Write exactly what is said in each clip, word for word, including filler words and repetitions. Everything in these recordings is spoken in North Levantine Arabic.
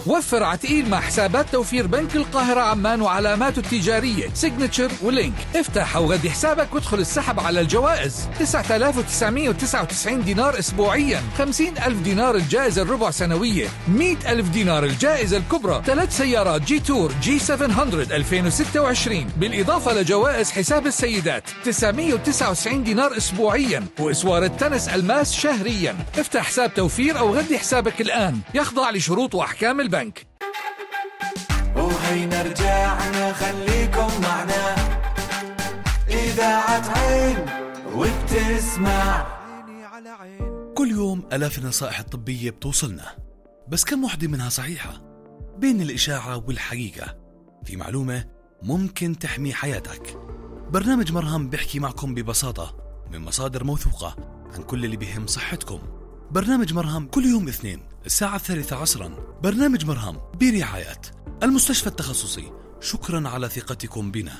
وفر عتقيل مع حسابات توفير بنك القاهرة عمان وعلاماته التجارية سيجنتشر ولينك. افتح أو غدي حسابك وادخل السحب على الجوائز. تسعة آلاف وتسعمائة وتسعة وتسعين دينار أسبوعيا، خمسين ألف دينار الجائزة الربع سنوية، مئة ألف دينار الجائزة الكبرى، ثلاث سيارات جي تور جي سبعمائة ألفين وستة وعشرين، بالإضافة لجوائز حساب السيدات تسعمائة وتسعة وتسعين دينار أسبوعيا، وإسوار التنس الماس شهريا. افتح حساب توفير أو غدي حسابك الآن، يخضع لشروط وأحكام البنك. وهينا رجعنا خليكم معنا، إذاعة عين وبتسمع. كل يوم آلاف النصائح الطبية بتوصلنا، بس كم وحدة منها صحيحة؟ بين الإشاعة والحقيقة في معلومة ممكن تحمي حياتك. برنامج مرهم بيحكي معكم ببساطة من مصادر موثوقة عن كل اللي بيهم صحتكم. برنامج مرهم كل يوم اثنين الساعة الثالثة عصرا. برنامج مرهم برعاية المستشفى التخصصي. شكرا على ثقتكم بنا.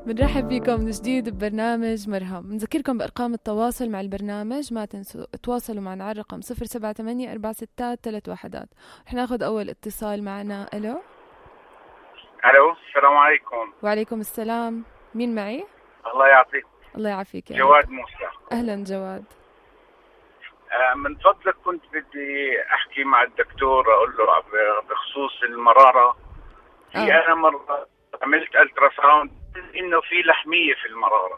بنرحب بكم من جديد ببرنامج مرهم. بنذكركم بأرقام التواصل مع البرنامج، ما تنسوا تواصلوا معنا على الرقم صفر سبعة ثمانية أربعة ستة ثلاثة واحد. رح ناخذ أول اتصال معنا. ألو ألو، السلام عليكم. وعليكم السلام، مين معي؟ الله يعطيك. الله يعافيك يا جواد موسى. أهلا جواد. آه من فضلك كنت بدي أحكي مع الدكتور، أقول له بخصوص المرارة. في آه. أنا مرة عملت ألترا ساوند إنه في لحمية في المرارة،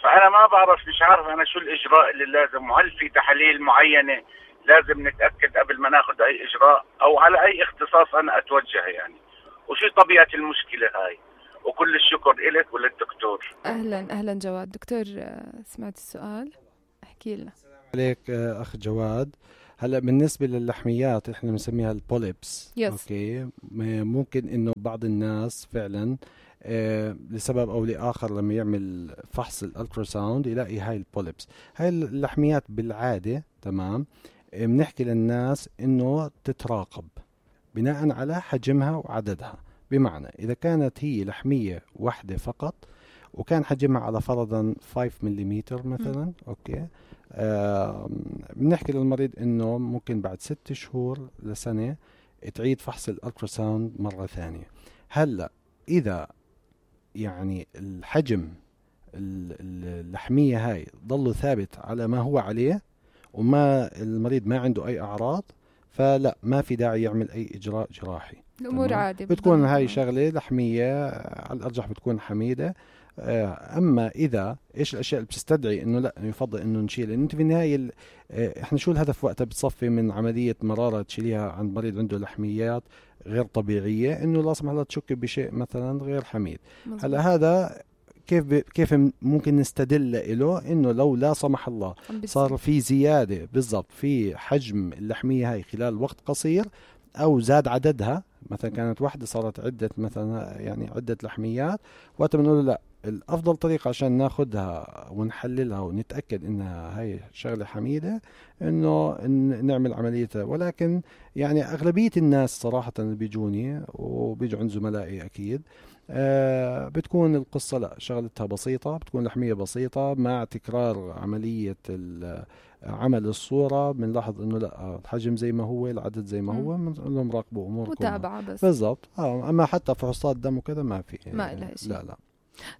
فأنا ما بعرف، مش عارف أنا شو الإجراء اللي لازم، وهل في تحاليل معينة لازم نتأكد قبل ما ناخذ أي إجراء، أو على أي اختصاص أنا أتوجه يعني، وشو طبيعة المشكلة هاي. وكل الشكر إلك وللدكتور. أهلا أهلا جواد. دكتور سمعت السؤال، احكي لنا. السلام عليك أخ جواد. هلا بالنسبة للحميات احنا بنسميها البوليبس. يس. اوكي، ممكن انه بعض الناس فعلا آه لسبب او لاخر لما يعمل فحص الالتراساوند يلاقي هاي البوليبس. هاي اللحميات بالعادة تمام بنحكي للناس انه تتراقب بناء على حجمها وعددها. بمعنى إذا كانت هي لحمية واحدة فقط وكان حجمها على فرضا خمسة مليمتر مثلا، أوكي، آه بنحكي للمريض إنه ممكن بعد ست شهور لسنة تعيد فحص الألتراساوند مرة ثانية. هلأ إذا يعني الحجم اللحمية هاي ضل ثابت على ما هو عليه وما المريض ما عنده أي أعراض، فلا ما في داعي يعمل أي إجراء جراحي. الأمور عادي، بتكون هاي شغلة لحمية على الأرجح بتكون حميدة. أما إذا إيش الأشياء اللي بتستدعي إنه لا يفضل إنه نشيل، إنه أنت في النهاية إحنا شو الهدف وقتها بتصفي من عملية مرارة تشيليها عند مريض عنده لحميات غير طبيعية، إنه لا سمح الله تشك بشيء مثلا غير حميد. هلا هذا كيف ب... كيف ممكن نستدل له إنه لو لا سمح الله صار في زيادة بالضبط في حجم اللحمية هاي خلال وقت قصير، أو زاد عددها، مثلا كانت واحدة صارت عدة مثلا يعني عدة لحميات، وقت بنقول لا الأفضل طريقة عشان ناخدها ونحللها ونتأكد إنها هاي شغلة حميدة إنه نعمل عمليتها. ولكن يعني أغلبية الناس صراحة اللي بيجوني وبيجوا عند زملائي أكيد آه بتكون القصة لا شغلتها بسيطة، بتكون لحمية بسيطة مع تكرار عملية عمل الصورة. بنلاحظ انه لا الحجم زي ما هو، العدد زي ما هو، بنقول لهم راقبوا اموركم متابعة بس بالضبط. اه اما حتى فحوصات دم وكذا ما في ما لها شيء. لا لا.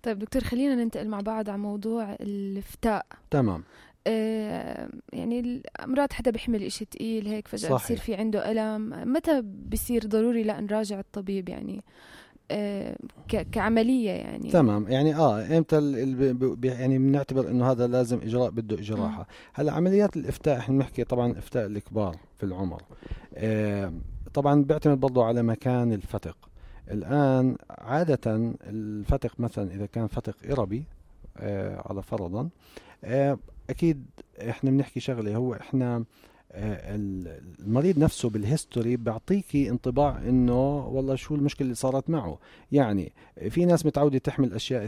طيب دكتور، خلينا ننتقل مع بعض على موضوع الفتاء. تمام. آه يعني الأمراض حدا بيحمل إشي تقيل هيك فجأة بصير في عنده ألم، متى بيصير ضروري لا نراجع الطبيب يعني آه كعملية يعني؟ تمام. يعني اه امتى يعني بنعتبر انه هذا لازم اجراء بده جراحة. هلا عمليات الافتاء احنا بنحكي طبعا افتاء الكبار في العمر، آه طبعا بيعتمد برضه على مكان الفتق. الان عادة الفتق مثلا اذا كان فتق إربي آه على فرضا آه اكيد احنا بنحكي شغله، هو احنا المريض نفسه بالهيستوري بيعطيكي انطباع انه والله شو المشكله اللي صارت معه. يعني في ناس متعوده تحمل اشياء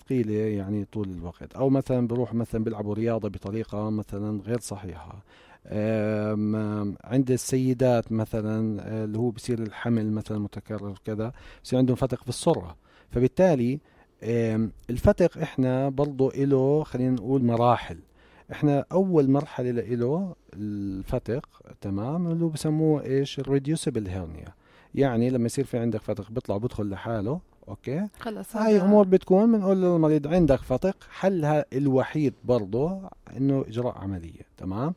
ثقيله يعني طول الوقت، او مثلا بروح مثلا بيلعبوا رياضه بطريقه مثلا غير صحيحه. عند السيدات مثلا اللي هو بصير الحمل مثلا متكرر كذا بصير عندهم فتق في السره، فبالتالي الفتق احنا برضو له خلينا نقول مراحل. احنا اول مرحله له الفتق، تمام، اللي بسموه ايش الريديوسبل هيرنيا. يعني لما يصير في عندك فتق بيطلع بدخل لحاله، اوكي، خلص هاي امور بتكون بنقول للمريض عندك فتق، حلها الوحيد برضه انه اجراء عمليه. تمام.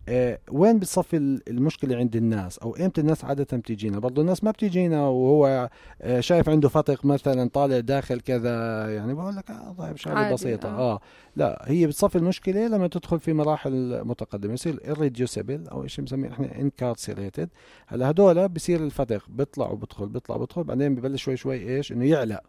آه وين بتصفي المشكله عند الناس، او امتى الناس عاده بتيجينا؟ برضه الناس ما بتيجينا وهو آه شايف عنده فتق مثلا طالع داخل كذا، يعني بقول لك اه طيب شغله بسيطه. آه. اه لا، هي بتصفي المشكله لما تدخل في مراحل متقدمه، يصير irreducible او شيء بنسميه احنا incarcerated. هلا هدول بصير الفتق بيطلع وبدخل بيطلع وبدخل، بعدين ببلش شوي شوي ايش انه يعلى،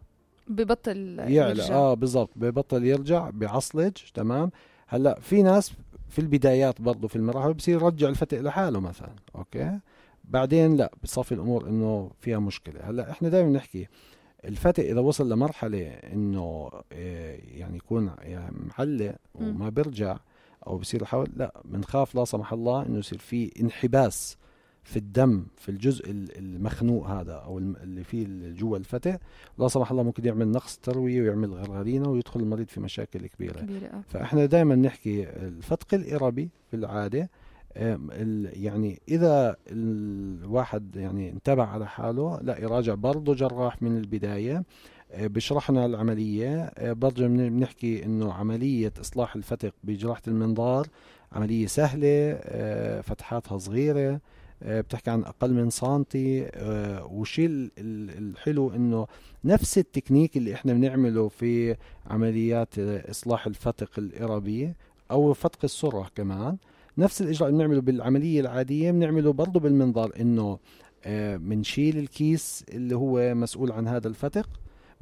ببطل يعلى يرجع. اه بالضبط، ببطل يرجع، بعصلج. تمام. هلا في ناس في البدايات برضو في المراحل بصير يرجع الفتق لحاله مثلا، اوكي، بعدين لا، بصفي الامور انه فيها مشكله. هلا احنا دائما نحكي الفتق اذا وصل لمرحله انه يعني يكون يعني معلق وما بيرجع او بصير يحاول، لا بنخاف لا سمح الله انه يصير في انحباس في الدم في الجزء المخنوق هذا او اللي فيه جوا الفتق، لا سمح الله ممكن يعمل نقص تروي ويعمل غرغرينه ويدخل المريض في مشاكل كبيره, كبيرة. فاحنا دائما نحكي الفتق الإربي في العاده يعني اذا الواحد يعني انتبه على حاله لا يراجع برضه جراح من البدايه بشرحنا العمليه. برضه بنحكي انه عمليه اصلاح الفتق بجراحه المنظار عمليه سهله، فتحاتها صغيره، بتحكي عن أقل من سنتي. وشيء الحلو إنه نفس التكنيك اللي إحنا بنعمله في عمليات إصلاح الفتق الإربي أو فتق السرة كمان، نفس الإجراء اللي بنعمله بالعملية العادية بنعمله برضو بالمنظار، إنه بنشيل الكيس اللي هو مسؤول عن هذا الفتق،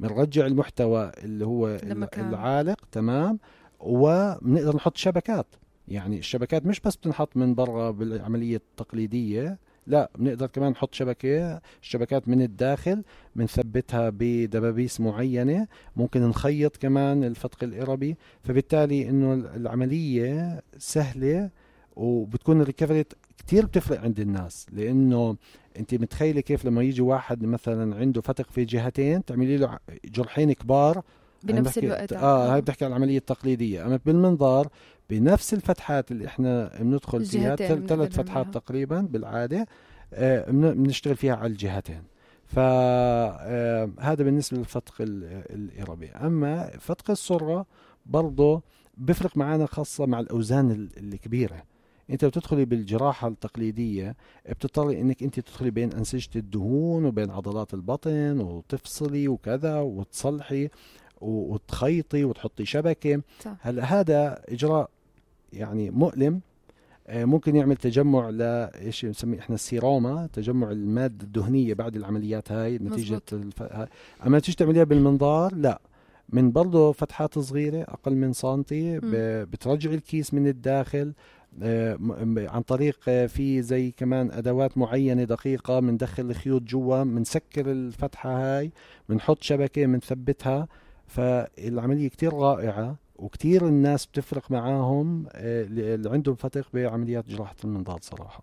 بنرجع المحتوى اللي هو العالق، تمام، وبنقدر نحط شبكات. يعني الشبكات مش بس بتنحط من برا بالعملية التقليدية، لا بنقدر كمان نحط شبكة الشبكات من الداخل بنثبتها بدبابيس معينة، ممكن نخيط كمان الفتق الإربي. فبالتالي انه العملية سهلة وبتكون الريكفري كتير بتفرق عند الناس، لانه انت متخيلة كيف لما يجي واحد مثلا عنده فتق في جهتين تعملي له جرحين كبار بنفس الوقت. اه هاي بتحكي عن العملية التقليدية. اما بالمنظار بنفس الفتحات اللي احنا بندخل فيها ثلاث فتحات تقريبا بالعادة آه بنشتغل فيها على الجهتين. فهذا آه بالنسبة للفتق الإربي. اما فتق السرة برضه بفرق معنا خاصة مع الأوزان الكبيرة. انت بتدخلي بالجراحة التقليدية بتضطري انك انت تدخلي بين أنسجة الدهون وبين عضلات البطن وتفصلي وكذا وتصلحي وتخيطي وتحطي شبكة. هلا هذا إجراء يعني مؤلم، ممكن يعمل تجمع لإيش نسميه إحنا السيروما، تجمع المادة الدهنية بعد العمليات هاي نتيجة الف... أما تيجي تعمليها بالمنظار لا، من برضو فتحات صغيرة أقل من سنتي ب... بترجع الكيس من الداخل عن طريق في زي كمان أدوات معينة دقيقة، بندخل الخيوط جوا، بنسكر الفتحة هاي، بنحط شبكة بنثبتها. فالعملية كتير رائعة وكتير الناس بتفرق معاهم اللي عندهم فتق بعمليات جراحة المنظار صراحة.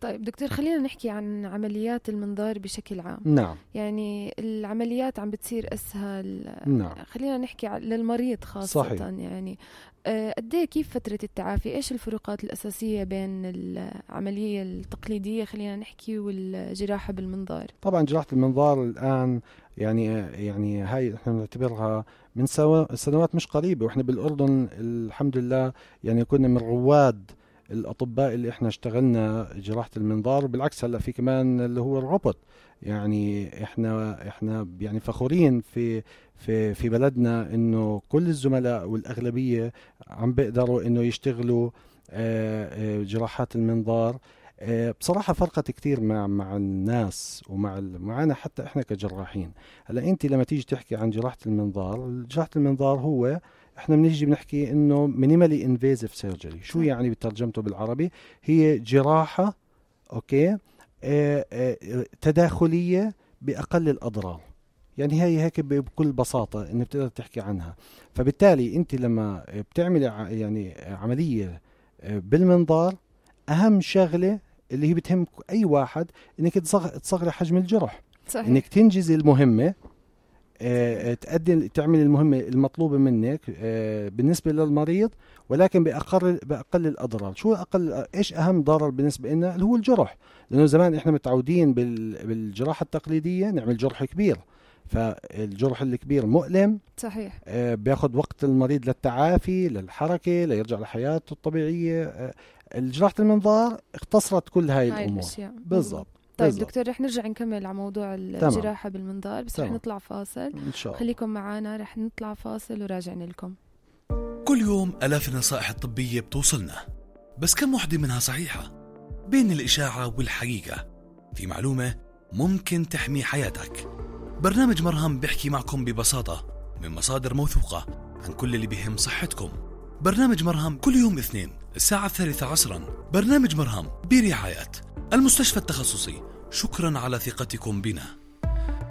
طيب دكتور، خلينا نحكي عن عمليات المنظار بشكل عام. نعم. يعني العمليات عم بتصير أسهل. نعم. خلينا نحكي للمريض خاصة. صحيح. يعني قد ايه كيف فترة التعافي؟ ايش الفروقات الأساسية بين العملية التقليدية خلينا نحكي والجراحة بالمنظار؟ طبعا جراحة المنظار الآن يعني يعني هاي احنا نعتبرها من سنوات مش قريبة، واحنا بالأردن الحمد لله يعني كنا من رواد الأطباء اللي احنا اشتغلنا جراحة المنظار. بالعكس هلا في كمان اللي هو الروبوت، يعني احنا احنا يعني فخورين في في في بلدنا انه كل الزملاء والاغلبيه عم بيقدروا انه يشتغلوا جراحات المنظار. بصراحه فرقت كثير مع مع الناس ومع معنا حتى احنا كجراحين. هلا انت لما تيجي تحكي عن جراحه المنظار، جراحه المنظار هو احنا بنيجي بنحكي انه مينيمالي انفيزيف سيرجري. شو يعني بترجمته بالعربي؟ هي جراحه اوكي اه اه تداخليه باقل الاضرار. يعني هي هيك بكل بساطه ان بتقدر تحكي عنها. فبالتالي انت لما بتعملي يعني عمليه بالمنظار، اهم شغله اللي هي بتهم اي واحد انك تصغري حجم الجرح. صحيح. انك تنجزي المهمه آه، تقدم تعمل المهمة المطلوبة منك آه، بالنسبة للمريض، ولكن بأقل بأقل الأضرار. شو أقل إيش أهم ضرر بالنسبة لنا؟ اللي هو الجرح، لأنه زمان إحنا متعودين بال- بالجراحة التقليدية نعمل جرح كبير، فالجرح الكبير مؤلم، صحيح. آه، بياخد وقت المريض للتعافي للحركة ليرجع لحياته الطبيعية. آه، الجراحة المنظار اختصرت كل هاي هاي الأمور. الأشياء. بالضبط. طيب بالضبط. دكتور رح نرجع نكمل على موضوع الجراحة بالمنظار، بس رح تمام. نطلع فاصل. إن شاء الله. خليكم معنا، رح نطلع فاصل وراجعين لكم. كل يوم آلاف النصائح الطبية بتوصلنا، بس كم وحدة منها صحيحة؟ بين الإشاعة والحقيقة في معلومة ممكن تحمي حياتك. برنامج مرهم بيحكي معكم ببساطة من مصادر موثوقة عن كل اللي بيهم صحتكم. برنامج مرهم كل يوم اثنين الساعة الثالثة عصرا. برنامج مرهم برعاية المستشفى التخصصي. شكرا على ثقتكم بنا.